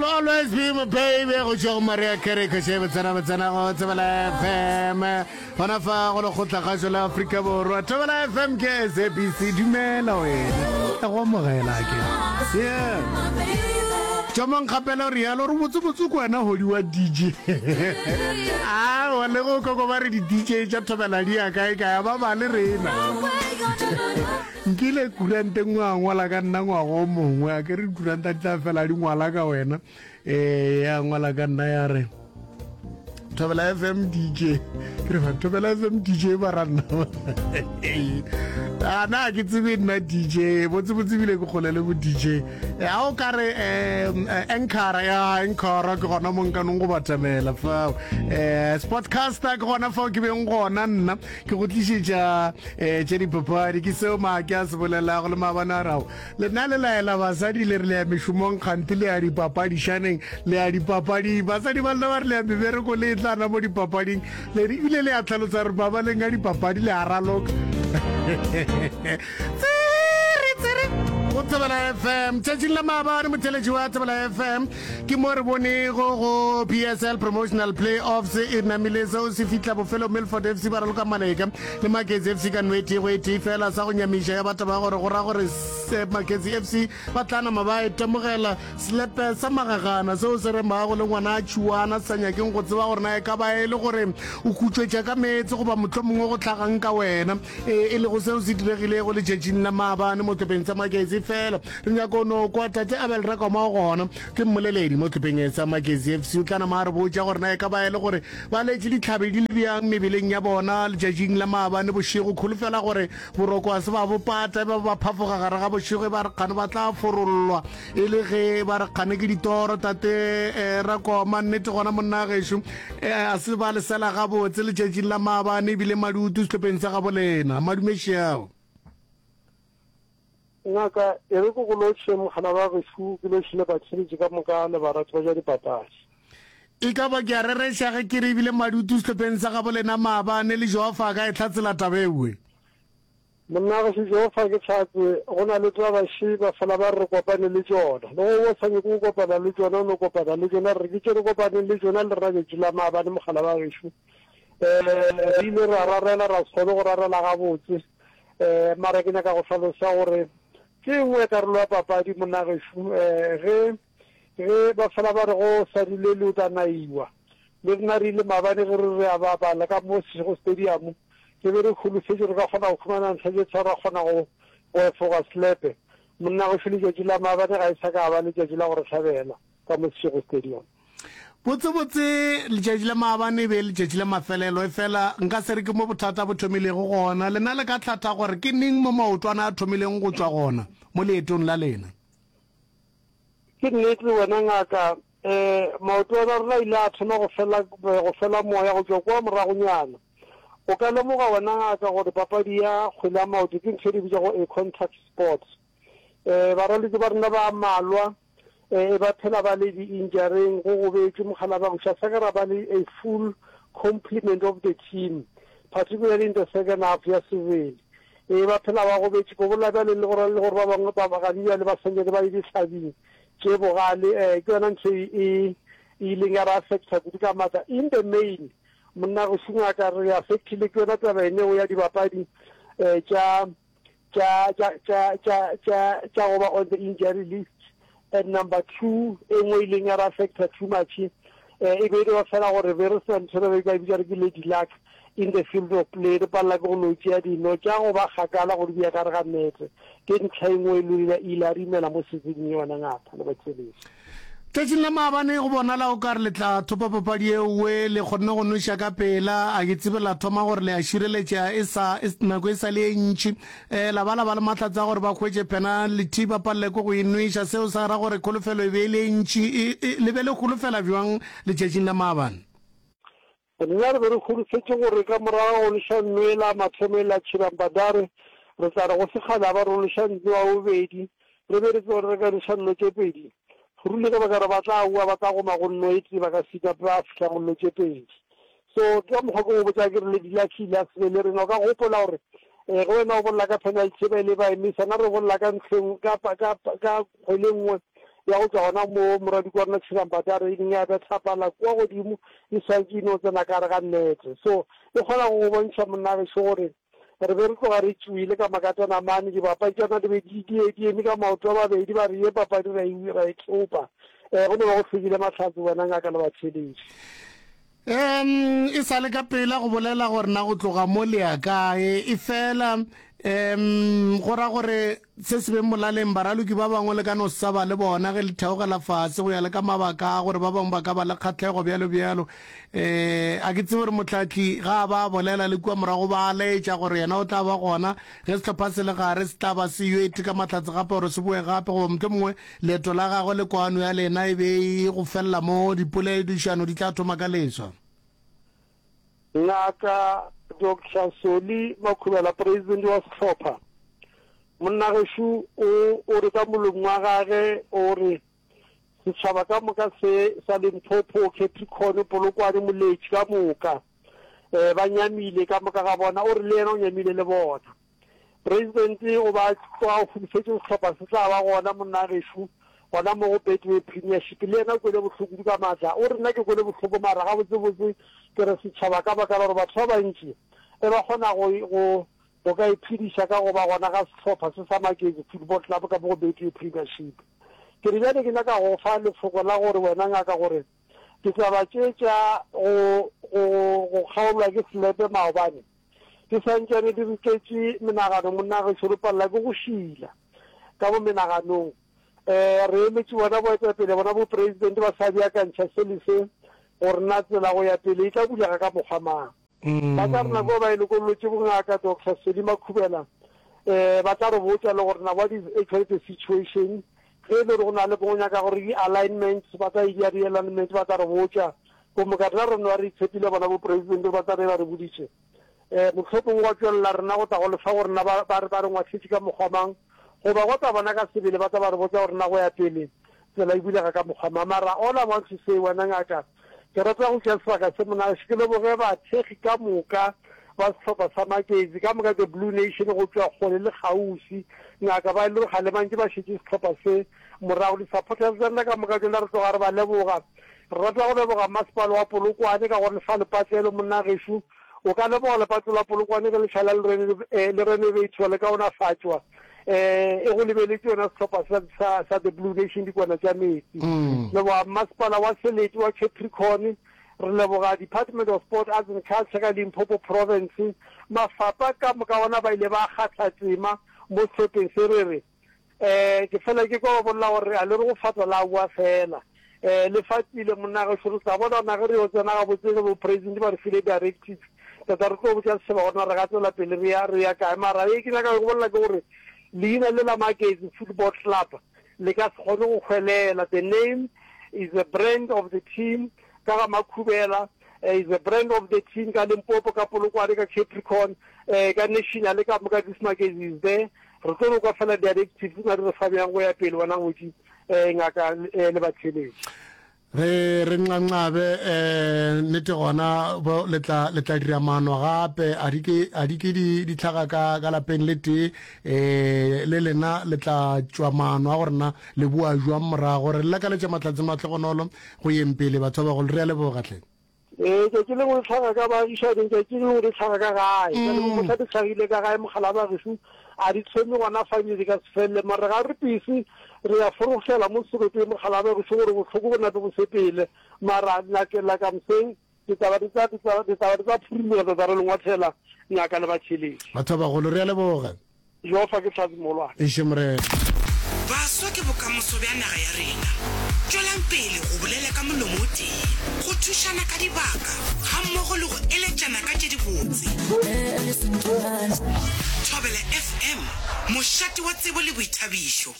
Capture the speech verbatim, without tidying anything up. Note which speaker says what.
Speaker 1: Always be my baby go tšwa go Maria Carey kgoši botsena botsena go Thobela F M gona fa go lekgotlagašo la Afrika Borwa. Thobela F M ke S A B C. Dumela wena, ka go amogela ke yeah tšomong kgapela o rialo re botsebotse ko wena hodi wa D J awa le go koko ba re di-D J tša Thobela di ya kae kae ba ba le rena. Nkile kurante nngwe a ngwala ka nna ngwaga o mongwe, a ke re dikuranta di tla fela di ngwala ka wena. um ya ngwala ka nna ya re Thobela F M D J. Ke re ba Thobela F M D J ba ra nna a na ke tsebe nna D J botsebotse bile ke kgole le bo D J. A o ka re um anchora ya anchora ke gona mo nkanong go batamela fao, um sportcaster ke gona fao ke beng gona nna ke go tlišetša um tše dipapadi. Ke seo maake a se bolelago le maabane a rago lena le laela basadi le re le ya mešomong, kgante le ya dipapadišaneng, le ya dipapading. Basadi ba lena ba re le ya mebereko, le e tlana mo dipapading le re ebile le ya tlhalosa re babaleng ka dipapadi le a raloka. Tsere tsere go Thobela F M tšatšing la maabane, motheletši wa Thobela F M, ke mo re bonego go P S L promotional playoffs e namile seo se fihla bofelo. Milford F C ba raloka Maleka le Maketsi F C ka nwete go e tee fela. Sa go nyamiša ya batho ba gore go ra gore Maketsi F C ba tla nama ba itemogela selepe sa magagana seo se remago le ngwana a tšhuana sa nyakeng go tseba gore na e ka ba e le gore o khutšwetša ka meetse goba motlho mongwe go tlhagang ka wena, e e lego seo se diregilego letšatšing la maabane mo tlhopheng sa Maketsi. Fela re nyako no kwa tate Abel Rakoma, gona ke mmoleledi mo tlhopheng sa Maketsi F C, o tla nama a re botša gore na e ka ba e le gore ba letše ditlhabe di le bjang mebeleng ya bona letšatšing la maabane bošego. Kholofela gore boroko a se ba bopata ba ba phafoga gare ga bošego e ba re kgane ba tla forollwa e le ge ba re kgane ke ditoro. Tate eh, Rakoma, nnete gona monna gešo eh, a se ba lesela gabotse letšatšing la maabane ebile madutu sehlopheng sa gabo lena. Madumešeao.
Speaker 2: Ngaka, e re ko go lotšhe mogala wa gešo, ke lotšhe le batheletši ka moka le barati ba ja dipapadi.
Speaker 1: E ka ba ke a rereša ge ke re ebile madutu sehlopheng sa gabo lena maabane le Jehofa ka e hlatsela taba ewe?
Speaker 2: Monna gešo, Jehofa ke tlhatse. Go na le taba še ba fela ba re re kopane le tšona, le go o sa nyake go kopana le tšona, o no kopana le tšona. Re ke tše re kopaneng le tšona le rena tšatši la maabane, mogala wa gešo. um re ile ra rarela, ra se kgone go rarela gabotse, um mara ke nyaka go hlalosa gore ke nngwe karolo ya papadi, monna gešo. um ge ge ba fela ba re go sa dulele o tla naiwa, le rena re ile maabane ge re re a bapala ka mo Seshego Stadium, re be re holofetše re ka kgona go khumana ntlha tše tharo, ra kgona go go efoga slepe. Monna gešo, letšatši la maabane ga e sa ka ba letšatši la go re hlabela ka mo Seshego Stadium.
Speaker 1: Botsebotse letšatši la maabane e be letšatši la mafelelo, e fela nka se re ke mo bothata bo thomilego gona. Lena le ka hlatha gore ke neng mo maotwana a thomileng go tšwa gona mo leetong la lena?
Speaker 2: Ke nnete wena ngaka, um maoto a rena ile a thoma go fela go fela moya go tšwa kwa moragonyana. O ka lemoga wena ngaka gore papadi ya kgwele ya maoto ke ntho e di bitšago a contact sport. um baraloki ba rena ba malwa um ba phela ba le di-injuring, go gobetše mogala ba goša sa ka ra ba le a full complement of the team, particularly in the second half ya sebele. E ba phela ba gobetše ko bola bjale le gore le gore ba bangwe ba gane bjale ba santse ba le ditlhabing tše bogale. um ke yona ntho e e ileng ya re affecta kudu ka maatla. In the main, monna go šungaka, re affectile ke yona taba eneo ya dibapadi um tša tša tša tša tša tša tša go ba on the injury list. And number two, e nngwe ileng ya re affecta too much, um e be e ba fela gore be re sena ntho re ba bitsa re ke lady luck in the field of play. Re palela ke go no tšea dino tša go ba kgakala gore di ya ka re ga nete. Ke ntlha e nngwe e ile a re imela mo seasoning yona, ngata le batheletši.
Speaker 1: Tšatšing la maabane go bonala o ka re le tla thopa papadi ewe, le kgonne go noša ka pela. A ke tsebe la thoma gore le a šireletša e sa e, nako e sa le e ntši, um la ba la ba le mahlatsa gore ba hwetše penalty, ba palele ke go e nweša. Seo sa ra gore kholofelo e be e le e ntši. E, e, le be le holofela bjang letšatšing la maabane?
Speaker 2: Rena re be re holofetše gore ka morago go leša nwela mathomo e la Chirambadare, re tla re go sekgala ba re leša nno wa bobedi, re be re tsebe gore re ka leša nno tše pedi rule ka baka re ba tla boa ba tla goma go nno e tee, ba ka sita ba fihla go nno tše pedi. So ke ka mokgwa ke go botsa ke re lady luck ile a sebe le rena. O ka gopola gore um ge wena o bolela ka penalty ba ile ba emisa, na re bolela ka ntlheng ka ka ka kgwele nngwe ya go tšwa gona mo morwadiko wa rena Tšhirampati a re e ya betha pala kua godimo e swantše e no tsena ka gare ga nnete. So e kgona go go bontšha monna gešo gore re be re tloga re tšwile ka makatana mane, dibapadi tša rena di be di di di eme ka maoto a mabedi ba re ye papadi ra e ra e thopa. Um go no ba go hlwekile mahlatse wena ngaka le batheeletši.
Speaker 1: Um e sa le ka pela go bolela gore na go tloga mo le ya kae, efela um go ra gore se se beng molaleng, baraloki ba bangwe le ka no se sa ba le bona ge le theogela fase go ya le ka mabaka a gore ba bangwe ba ka ba le kgahlego bjalo bjalo. Um a ke tsebe gore mohlahli ga a ba a bolela le kua morago ba a laetša gore yena o tla ba gona ge sehlopha se le gare se tla ba se yo iteka mahlatse gape gore se boe gape goba mohlomongwe leeto la gagwe le kwano ya lena e be e go felela mo dipoledišano di tla thoma ka leswa.
Speaker 2: Ngaka Doctor Solly Makhubela, President wa sehlopha, monna gešo o o re ka molomo wa gage o re setšhaba ka moka se sa Limpopo, Capricorn, Polokwane, Moletši ka moka um ba nyamile ka moka ga bona, o re le yena o nyamile le bona. President o ba tloga o holofetše sehlopha se tla ba gona monna gešo gona mo go Betway Premiership, le yena o kwele bohloko kudu ka maatla. O re nna ke kwele bohloko mara gabotsebotse ke re setšhaba ka baka la gore batho ba bantši e ba kgona go go go ka iphediša ka go ba gona ga sehlopha se sa Magezi Football Club ka mo go Betway Premiership. Ke re bjale ke nyaka go fa lefoko la gore wena ngaka gore ditaba tše tša go go go kgaolwa ke selepe maobane di santšane di re tletše menagano monna gešo, re palela ke go šila ka mo menaganong. Um re emetše bona boetapele bona bo president ba sa beakantšha se le se gore na tsela go ya pele e tla bulega ka mokgwa mang. Ba tla re nako ba e lokollotše bongaka Doctor Solly Makhubela um ba tla re botša le gore na what is actually the situation, ge e le gore go na le go nyaka gore di-alignments ba tla e dia di-alignment ba tla re botša. Gomme ka rena re no re itshepile bona bo president ba tla re ba re boditše um mohlomongwe gwa tšwelela rena go tla go lefa gore na ba ba re ba re ngwahletše ka mokgwa mang, goba go tla bona ka sebele ba tla ba re botša gore na go ya pele tsela e bulega ka mokgwa mang. Mara all I want to say wena ngaka, ke rata go tšea sebaka se monase ke leboge bathekgi ka moka ba sehlopha sa Magezi ka moka the Blue Nation go tšwa kgole le kgauswi ngaka, ba e le gore ga le bantše ba šetše sehlopha se morago. Di-supporters tša rena ka moka tšona re tloga re ba leboga. Re rata go leboga masepala wa Polokwane ka gore le fa lepatlelo monna gešo, o ka leboga lepatlelo la Polokwane ge le šala le renovatwa le kaonafatšwa um e go lebeletše yona sehlopha sa, sa, sa the Blue Nation dikwana tša metsi. Leboga masepala wa Selete wa Capricorn, re leboga Department of Sport, Arts and Culture ka Limpopo Province, mafapa ka moka ona ba ile ba kgatha tema mo sehlopheng se. Re re um ke fela ke kwa ba bolela gore a le re go fatwa la boa fela um le fatile monna gešo, re tla bona gona ge re yo tsena gabotse ge bo president ba re file directive tata re tlo botša setšhaba gore na re ga tswela pele re ya re ya kae. Mara e ke nyaka go bolela ke gore leina le la Magezi Football Club le ka se kgone go hwelela. The name is a brand of the team ka ga Makhubela, uh, is a brand of the team ka Limpopo, ka Polokwane, ka Capricorn, uh, ka national ka moka this Magezi is there. Re tlo no kwa fela directives na di re fa bjang go ya pele wena ngwetši um ngaka le batheeletši.
Speaker 1: Re re nqanqabe um nnete gona bo le tla le tla dira maano gape a di ke a di ke di di tlhaga ka ka lapeng le tee um le lena le tla tšwa maano a gore na le boa jwang morago. Re lakaletša mahlatse mahlogonolo go yeng pele batho ba bagolo, re a leboga tlhe.
Speaker 2: Ee, tšatši lengwe le tlhaga ka baagišaneng, tšatši lengwe le tlhaga ka gae. Bjale bo mohla di hlagile ka gae mogala ba gešo a di thome gona fa ebile di ka se felele. Mara ga re pese re ya forogela mo seropeng mogala ba gešo gore bohloko bo nape bo sepele. Mara like like I'm saying, ditaba di tla ditaba ditaba di tla phurimoga tsa re le ngwathela ngaka le batheeletši.
Speaker 1: Batho ba bagolo re a leboga.
Speaker 2: Jehofa ke hlatse mogolwane.
Speaker 1: Eiše Morena.
Speaker 3: Baswa ke bokamoso bja naga ya rena. Tšwelang pele go bolela ka molomo o tee, go thušana ka dibaka gammogo le go eletšana ka tše dibotse. Thobela F M, mošate wa tsebo le boithabišo.